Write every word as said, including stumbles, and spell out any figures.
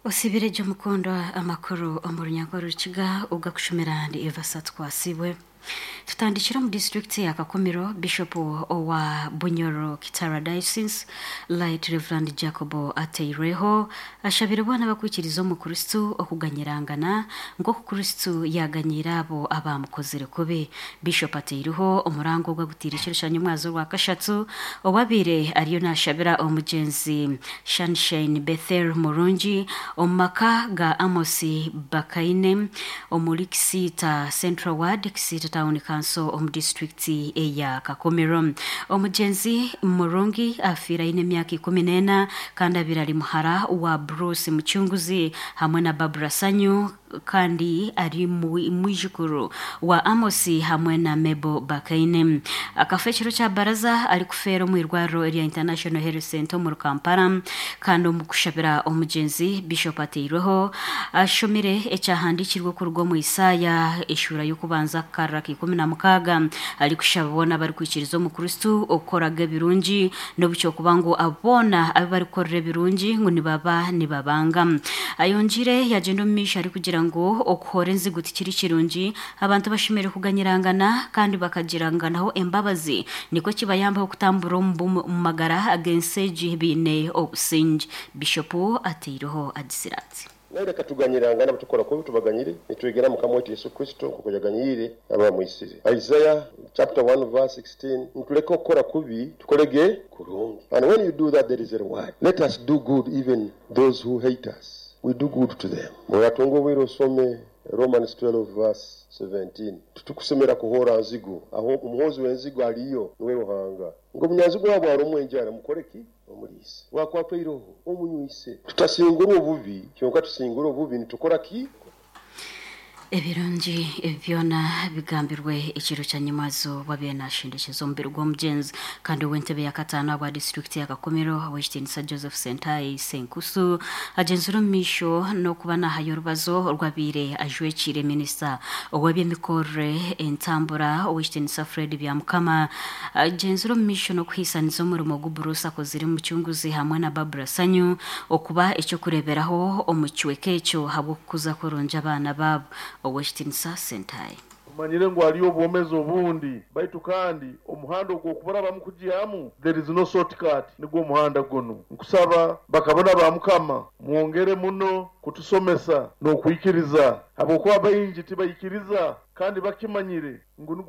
Osibire Jomukondwa amakuru omu runyankore Rukiga ogakushumira ndi Eva Satwasibwe. Tutandikira omu disitulikiti ya Kakumiro. Bishop owa Bunyoro Kitara Diocese, Right Reverend Jacob Ateirweho, ashabire boona abakwikiriza omu Kristu okuganyirangana nk'oku Kristu yaganyiire abo abamukozire kubi. Bishop Ateireho omurango ogwagutiire ekiro kya nyomwazo orwa kashatu owabiire ariyo nashabira omugyenzi Sunshine Bethel Murungi omu maka ga Amos Bakaine omuri Kisiita Central Ward, Kisiita Town Council, omu disitulikiti eya Kakumiro. Omugyenzi Murungi afiire aine emyaka ikumi n'ena kandi abiire ari muhara wa Bruce Mucunguzi hamwe na Barbara Sanyu, kandi ari mwijukuru wa Amos hamwe na Mebo Bakaine. Akafa ekiro kya baraza arikufeera omu irwariro erya International Health Center omuri Kampala. Kandi omu kushabira omugyenzi, Bishop Ateirweho ashomire ekyahandiikirwe okuruga omu Isaaya eshuura y'okubanza akarra ka ikumi na mukaaga, arikushaba boona abarikwikiriza omu Kristu okukoraga ebirungi n'obukyokuba ngu aboona abu barikukorera ebirungi ngu nibaba nibabanga. Ayongire yagenda omu maisho arikugira ngu okuhora enzigu tikiri kirungi, abantu bashemereire kuganyirangana kandi bakagiranganaho embabazi, nikwo kibayambaho kutambura omu bumu- omu magara ag'ensi egi biine obusinge. Bishopu Ateireho agisire ati: Naye reka tuganyirangana, tukora kubi tubaganyire, nitwegera Mukama waitu Yesu Kristo nkuko yaganyiire abamwisire. Isaiah chapter one verse sixteen, nituleka okukora kubi tukolege kurungi. And when you do that, there is a reward. Let us do good even those who hate us, we do good to them. Muratunga obwire osome Romans twelve verse seventeen. Tutukusemera kuhora nzigu, aho omuhozi w'enzigu aliyo niwe Ruhanga. Ngo omunyanzigu wabwe arumwe enjara, mukore ki? Omuliise. Wakwatwa iroho, omunywise. Tutasingura obubi, kyonka tusingura obubi nitukora ki? Ebirungi ebi byona bigambirwe ekiro kya nyamazo wabiire nashindikiza omubiri gw'omugyenzi. Kandi ow'entebe ya kataano abwa disitulikiti ya Kakumiro, ow'ekitiinisa Joseph Sentai Senkusu, agyenzire omu maisho n'okuba nahayo orubazo orwabiire ajwekiire minisita ow'ebyemikorere entambura, ow'ekitiinisa Fred Byamukama. Agyenzire omu maisho n'okuhiisaniza omurimo gu Bruce akozire Mucunguzi hamwe na Barbara Sanyu okuba ekyokureeberaho omu kicweka ekyo habw'okukuza kurungi abaana baabo. Ow'ekitiinisa Sentai. Tumanyire ngu hariyo obwomezi obundi, baitu kandi omuhanda ogwokuburabamu kugyamu, there is no shortcut, nigwo omuhanda gunu. Nkusaba bakabona ba Mukama mwongere muno kutusomesa n'okwikiriza, habwokuba baingi tibaikiriza kandi bakimanyire ngu nigwo.